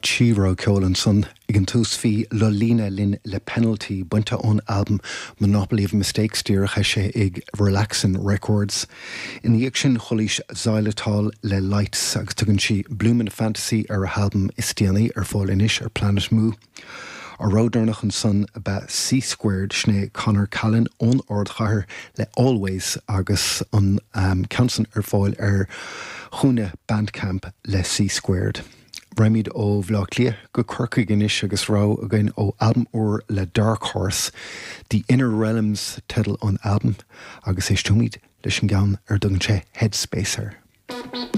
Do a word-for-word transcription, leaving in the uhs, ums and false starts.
Trí rogha ceoil ansan ag an tús bhí Lolina linn le Penalty bainte ón albam Monopoly of Mistakes díreach eisithe ag Relaxin Records. Ina dhiaidh sin chualaís Xylitol le Lights agus tugann sí Bloomin' Fantasy ar a halbam is déanaí ar fáil anois ar Planet Mu. An rogha deireanach ansan ab ea C Squared sin é Conor Callan ón ardchathair le Always agus an um, ceann san ar fáil ar chúinne Bandcamp le C Squared. Raghaimid ó Bhaile Átha Cliath go Corcaigh anois agus rogha againn ó albam úr le Dark Horse, The Inner Realms teideal an albam agus éisteoimid leis an gceann ar dtugann sé Headspace air.